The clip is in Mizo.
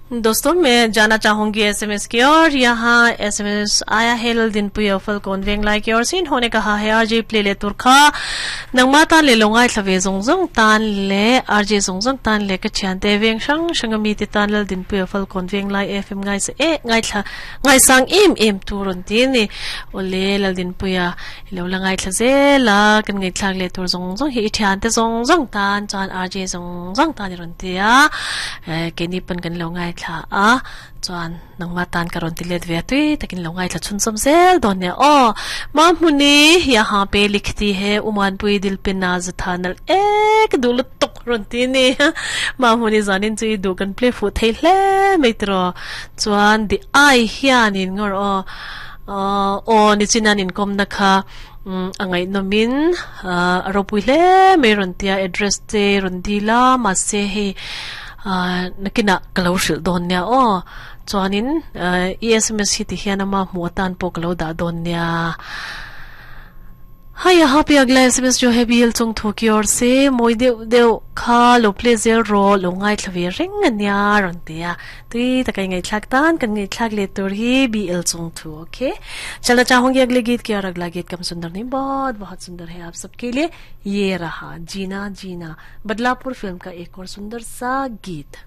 दोस्तों, मैं जाना चाहूंगी एसएमएस की और यहाँ एसएमएस आया है ललदिनपुया फलकौन वेंगलाई की ओर से। इन्होंने कहा है आरजे प्ले ले तुरखा नंगमा तान ले लोंगाई थवे जोंग तान ले आरजे जोंग तान ले ka thiante veng hrang hrang ami te tan Laldinpuia Falkawn Venglai FM ngai sa e ngai thla ngai sang em em tur an ti ni. Ole Laldinpuia ilo la ngai thla zela kan ngai thlak le tur zawng zawng hi i thiante zawng zawng tan chuan RJ zawng zawng tan i rawn ti a keini pawn kan lo ngai thla a chuan nangma tan ka rawn ti let ve a tui takin lo ngai thla chhunchawm zel dawn nia aw. Mahmuni yahan pe likhti he Umanpui dil pe naaz tha nalh e ka duh lutuk rawn ti a ni. Mahmuni zanin chu i duh kan play fuh thei hle mai tiraw chuan di ai hianin ngawr aw aw nichin an inkawmna kha a ngaihnawmin a ropui hle mai rawn tia address te rawn dil a mahse hei nakinah ka lo hrilh dawn nia aw chuanin i sms hi ti hian ama hmuh atan pawh ka lo dah dawn nia. Hai yahan pe agla sms jo hai BL chung thu ki or se moi deuh deuh kha lo play zel rawh lo ngaithla ve reng ania rawn ti a tui takai ngaihthlak tan kan ngaihthlak leh tur hi BL chung thu ok chalna chahungi agle geet ki aur agla geet kam sundar nahi bahut bahut sundar hai aap sabke liye ye raha jeena jeena Badlapur film ka ek aur sundar sa geet.